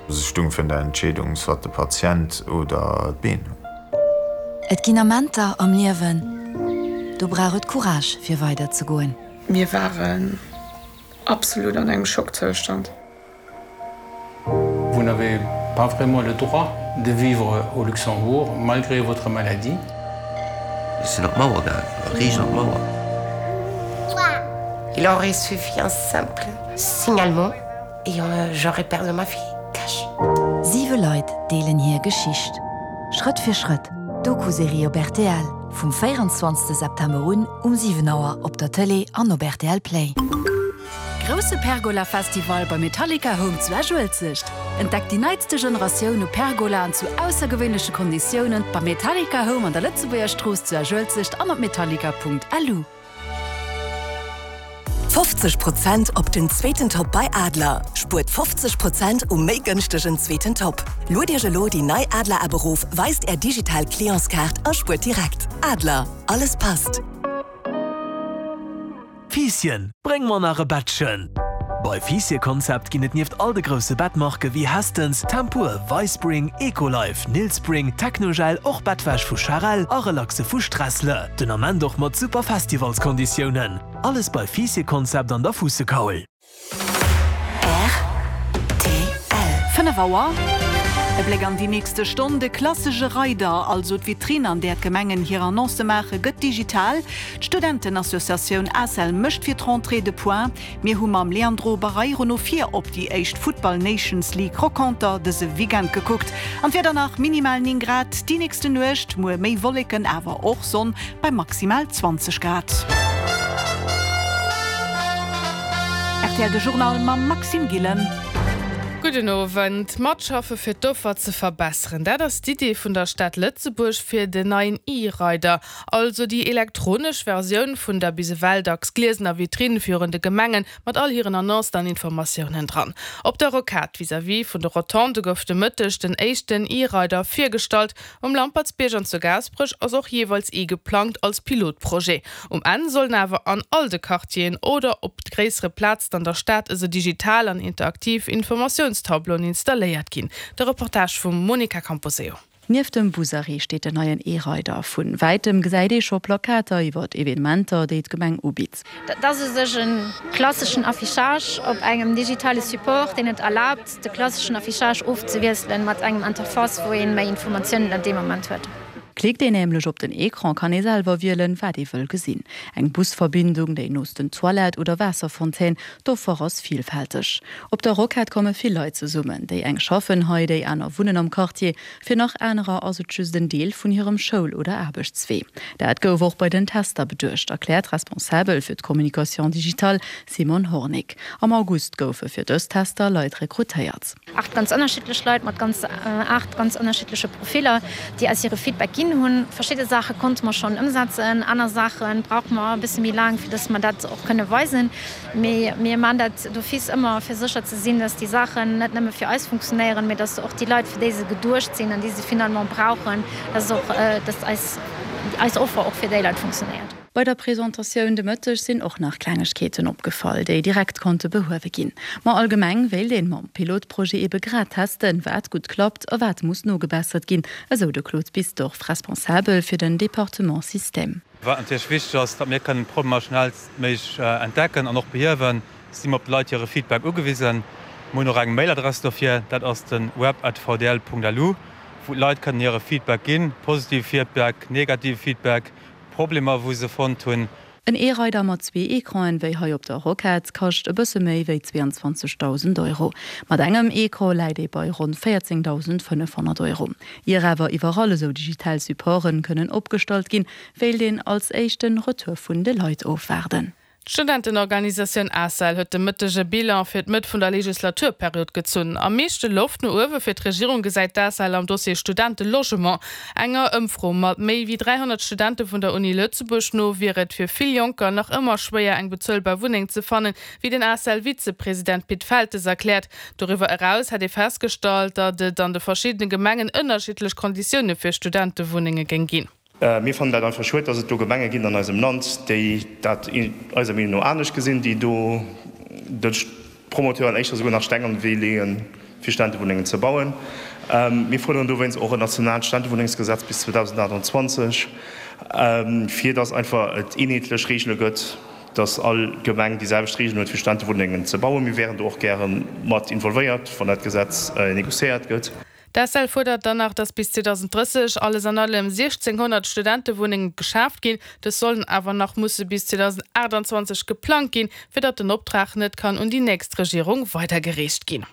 Ech stung virun der Entscheedung, soit de Patient oder d'Been. Et ginn Amenter am Liewen, do brauch et Courage fir weider ze goen. Mir waren absolut an engem Schockzoustand. Vous n'avez pas vraiment le droit de vivre au Luxembourg malgré votre maladie. Ech sinn op d'Mauer gaangen, riicht an d'Mauer. Il aurait suffi un simple signalement et j'aurais perdu ma fille cash. Siwe Leit deelen hir Geschicht. Schrëtt fir Schrëtt, Doku-Serie op rtl, vum 24 September un um 7 Auer op der Tëlee an op rtl Play. Grousse Pergola Festival bei Metallica Home zu Esch-Uelzecht. Entdeckt déi neitste Generatioun u Pergolaen zu aussergewéinleche Konditiounen beim Metallica Home an der Lëtzebuerger Strooss zu Esch-Uelzecht an op metallica.lu. 50 Prozent op den zweeten Top bei Adler! Spuert 50 Prozent um méi gënschtegen zweeten Top. Luet Iech elo déi nei Adler App erof, weist Är digital Clientskaart a spuert direkt. Adler, alles passt! Fiisschen, bréng mer nach e Bettchen! Bei Fiisscheconcept ginn et nieft all de grousse Bettmarke wéi Hästens, Tempur, Vispring, Ecolife, Nilspring, Technogel och Bettwäsch vu Charel a Relaxe vu Stressle. Den Ament och mat super Festivalskonditiounen. Alles bei Fiisscheconcept an der Fuussekaul. Rtl. 5 Auer. E Bléck an déi nächste Stonn, De klassesche Reider, also d'Vitrinn an där d'Gemengen hir Annoncë maachen, gëtt digital. D'Studentenassociatioun ACEL mécht fir d'Rentrée de Point. Mir hu mam Leandro Barreiro no vir op déi éischt Futtball Nations League Renconter dëse Weekend gekuckt. An d'Wieder nach, minimal 9 Grad déi nächste Nuecht, muer méi Wolleken, awer och Sonn bei maximal 20 Grad. Rtl De Journal mam Maxime Gillen. Gudden Owend. Matschaffe fir d'Offer ze verbesseren, dat ass d'Idee vun der Stad Lëtzebuerg fir den neien E-Rider, also déi elektronesch Versioun vun der bis ewell dacks gliesener Vitrinn virun de Gemengen mat all hiren Annoncen an Informatiounen dran. Op der Rocade vis-à-vis vun de Rotondë gouf de Mëtteg den éischten E-Rider virgestallt. Um Lampertsbierg an zu Gaasperech ass och jeeweils ee geplangt als Pilotprojet. Um Enn sollen awer an all de Quartieren oder op gréissere Plazen an der Stad esou digital an interaktiv Informatiounstableauen installéiert ginn. De Reportage vum Monica Camposeo. Nieft dem Busarrêt steet den neien E-Rider. Vu wäitem gesäit ee scho Plakater iwwer Evenementer, déi d'Gemeng ubitt. Dat ass u sech e klasseschen Affichage op engem digitale Support, deen et erlaabt, de klasseschen Affichage ofzewiesselen mat engem Interface, wou ee méi Informatiounen an deem Moment huet. Klickt een nämlech op den Ecran, kann ee selwer wielen, wat ee wëll gesinn. Eng Busverbindung, déi noosten Toilette oder Waasserfontaine, d'Offer ass villfälteg. Op der Rocade komme vill Leit zesummen. Déi eng schaffen hei, déi aner wunnen am Quartier. Fir nach anerer ass et just en Deel vun hirem Schoul oder Aarbechtswee. Dat gouf och bei den Tester beduecht, erkläert d'Responsabel fir d'Communication digitale Simone Hornick. Am August goufe fir dës Tester Leit rekrutéiert. 8 ganz ënnerschiddlech Leit mat ganz 8 ganz ënnerschiddleche Profiller, déi eis hire Feedback ginn hunn. Verschidde Saache konnte mer schonn ëmsetzen, aner Saache brauche mer e bësse méi laang, fir dass mer dat och kënne weisen. Mee mir maachen dat d'office ëmmer, fir sécher ze sinn, dass déi Saachen net nëmme fir eis funktionéieren, mee dass och déi Leit, fir déi se geduecht sinn an déi se finalement brauchen, dass och, dass eis, eis Offer och fir déi Leit funktionéiert. Bei der Presentatioun de Mëtteg sinn och nach Klengegkeeten opgefall, déi direkt konnte behuewe ginn. Ma allgemeng wéilt een mam Pilotprojet ebe grad testen, wat gutt klappt a wat muss nogebessert ginn, esou de Claude Bisdorff, Responsabel fir den Departement Système. Wat natierlech wichteg ass, datt mir kënnen d'Problemer schnellstméiglech entdecken an och behiewen, si mer op de Leit hire Feedback ugewisen. Mir hunn och eng Mailadress dofir, dat ass de web@vdl.lu, wou d'Leit kënnen hire Feedback ginn, positive Feedback, negative Feedback, Problemer wou se fonnt hunn. En E-Rider mat zwee Ecranen, wéi hei op der Rocade, kascht e bësse méi wéi 22.000 Euro. Mat engem Ecran läit ee bei ronn 14.500 Euro. Ier awer iwwerall esou digital Supporten kënnen opgestallt ginn, wéilt een als éischt den Retour vun de Leit ofwaarden. D'Studentenorganisatioun ACEL huet de Mëtteg e Bilan fir d'Mëtt vun der Legislaturperiod gezunn. Am meeschte Loft no uewe fir d'Regierung gesäit d'ACEL am Dossier Studentelogement. Enger Ëmfro mat méi wéi 300 Studente vun der Uni Lëtzebuerg no wier et fir vill Jonker nach ëmmer schwéier eng bezuelbar Wunneng ze fannen, wéi den ACEL-Vizepresident Pit Feltes erkläert. Doriwwer eraus hätt ee festgestallt, datt et an de verschiddene Gemengen ënnerschiddlech Konditioune fir Studentewunnenge géing ginn. Mir fannen dat einfach schued, dass et do Gemenge ginn an eisem Land, déi dat eiser Meenung no anescht gesinn, déi do de. Promoteuren éischter souguer nach Steng an de Wee leeën, fir Studentewunnengen ze bauen. Mir fuerderen dowéinst och en nationaalt Studentenwunnengsgesetz bis 2028, fir datt einfach et eenheetlech Reegele gëtt, datt all Gemeng déi selwecht Reegelen huet, fir Studentewunnengen ze bauen. Mir wären do och gäre mat involvéiert, wann dat Gesetz négociéiert gëtt. D'ACEL fuerdert dann nach, datt bis 2030 alles an allem 1.600 Studentewunnenge geschaaft ginn. Dës sollen awer nach musse bis 2028 geplangt ginn, fir datt den Optrag net kann un déi nächst Regierung weidergereecht ginn.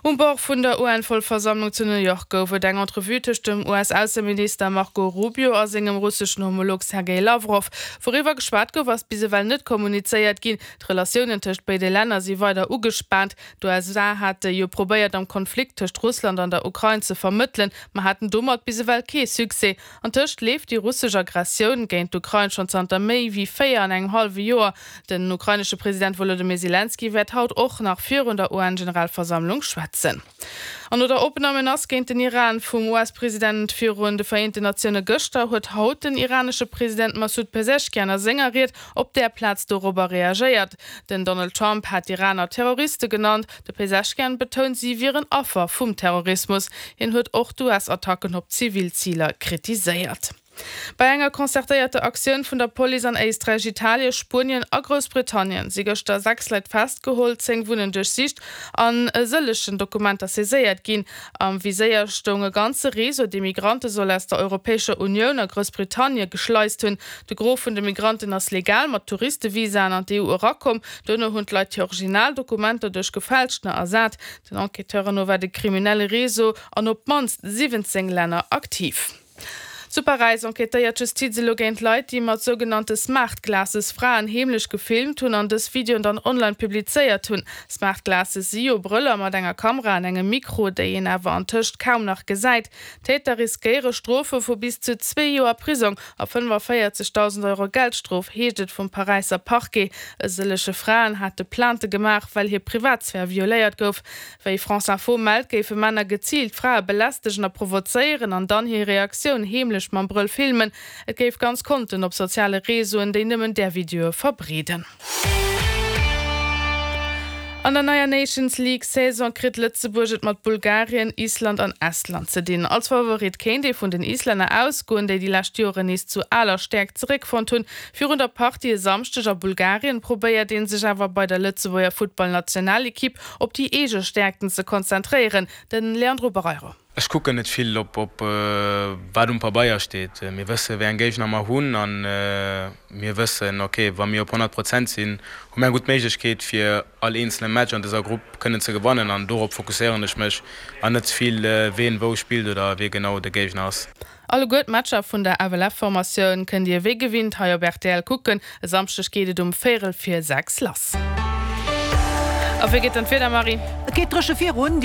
Um Bord vun der UN-Vollversammlung zu New York gouf et eng Entrevue tëscht dem US-Ausseminister Marco Rubio a sengem russeschen Homolog Sergej Lawrow. Wouriwwer geschwat gouf, ass bis ewell net kommunizéiert ginn. D'Relatiounen tëscht béide Länner si weider ugespaant. D'USA hate jo probéiert am Konflikt tëscht Russland an der Ukrain ze vermëttelen, ma haten domat bis ewell kee Succès. Antëscht leeft déi russesch Aggressioun géint d'Ukrain schonn zanter méi wéi 4 an engem hallwe Joer. Den ukrainesche President Wolodymyr Selenskyj wäert haut och nach virun der UN-Generalversammlung schwätzen. An no der opener Menace géint den Iran vum US-President virun de Vereenten Natioune gëschter, huet haut den iranesche President Massoud Pezeshkian a senger Ried op där Plaz dorobber reagéiert. Den Donald Trump hat d'Iraner Terroriste genannt. De Peseschkian betount, si wieren Affer vum Terrorismus. Hien huet och d'US-Attacken op zivil Ziler kritiséiert. Bei enger concertéierter Aktioun vun der Police an Éisträich, Italien, Spuenien a Groussbritannien si gëschter 6 Leit festgeholl, 10 Wunnen duerchsicht an e sëllegen Dokumenter saiséiert ginn. Am Viséier stoung e ganze Réseau, dee Migrante soll aus der Europäescher Unioun a Groussbritannie geschleist hunn. De Gros vun de Migranten ass legal mat Touristevisaen an d'EU erakomm. Duerno hunn d'Leit hir original Dokumenter duerch gefälschter ersat. Den Enquêteuren no war de kriminelle Réseau an op d'mannst 17 Länner aktiv. Zu Paräis enquêtéiert d'Justiz elo géint Leit, déi mat sougenannte Smart Glasses Fraen heemlech gefilmt hunn an dës Videoen dann online publizéiert hunn. Smart Glasses si jo Brëller mat enger Kamera an engem Mikro, déi een awer antëscht kaum nach gesäit. D'Täter riskéiere Strofe vu bis zu zwee Joer Prisong a 45.000 Euro Geldstrof, heescht et vum Paräisser Parquet. E sëllege Fraen hate Plainte gemaach, well hir Privatsphär violéiert gouf. Wéi France Info mellt, géife Männer geziilt Frae belästegen a provozéieren an dann hir Reaktioun heemlech mam Brëll filmen. Et géif ganz Konten op soziale Reseauen, déi nëmmen där Videoe verbreeden. An der neier Nations League Saison kritt Lëtzebuerg et mat Bulgarien, Island an Estland ze dinn. Als Favorit kéint ee vun den Islänner ausgoen, déi déi lescht Joren nees zu aler Stäerkt zeréckfonnt hunn. Virun der Partie e Samschdeg a Bulgarien probéiert ee sech awer bei der Lëtzebuerger Futtballnationalekipp op déi eege Stäerkten ze konzentréieren. De Leandro Barreiro. Ech kucken net vill op wat um Pabeier steet. Mir wësse wéi eng Géigner mer hunn a mir wëssen, ok, wa mir op 100 Prozent sinn, hu mir eng gutt Méiglechkeet fir all eenzele Match an dëser Grupp kënnen ze gewannen an dorop fokusséieren ech mech an net ze vill ween wou spillt oder wee genau de Géigner ass. Alleguer d'Matcher vun der FLF-Formatioun kënnt Dir wéi gewinnt hei op rtl kucken. E Samschdeg geet et um véierel vir 6 lass. A wéi geet dann d'Wieder, Marie? Et geet dréche virun.